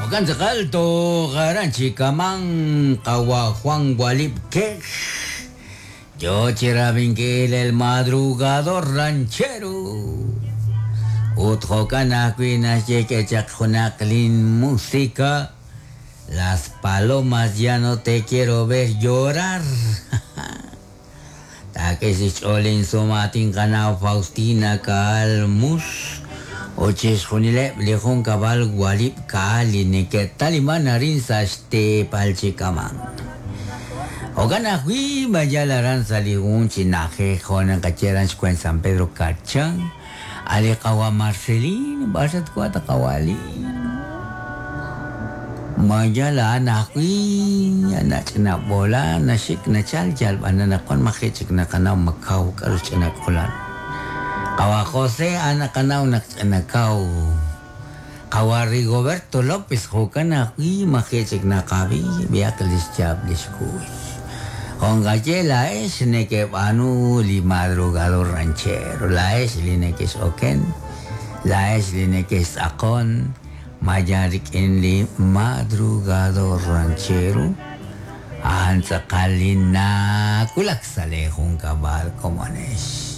Jo'kan tz'aqal toj aran chi kaman qawa' Juan Walib Kej yo chi rab'inkil El Madrugador Ranchero. Ut jo'kan ajwi' naxye k'e chaq junaq lin música Las palomas ya no te quiero ver llorar. Taak'e chi xch'ool insumaatin qanaw Faustina Caal Mus ut chixjunileb' li junkab'al Walib' Caal li neke'taliman arin sa' xteepal chi kaman. Jo'kan ajwi' ma yal aran sa' li jun chi na'ajej jo' naqaye aran xweent San Pedro Carchán, a' li qawa' Marcelino, b'ar xatwank ta qawa' Lino? Ma yal a'an ajwi' nach'ina b'oola naxik nachal yal b'an anaqwan maji' chik naqanaw ma kaw k'aru xch'ina k'ulan. Qawa' José a'an naqanaw naq ch'ina kaw. Qawa' Rigoberto López jo'kan ajwi' maji' chik naqab'i b'ihaq li xyaab' li xkuy. Jo' nqaye laa'ex nekeb'aanu li madrugador ranchero, laa'ex li nekex'oken, laa'ex li nekextz'aqon, ma yal rik'in li madrugador ranchero, a'an tz'aqal li nawulak sa' lee junkab'al komonex.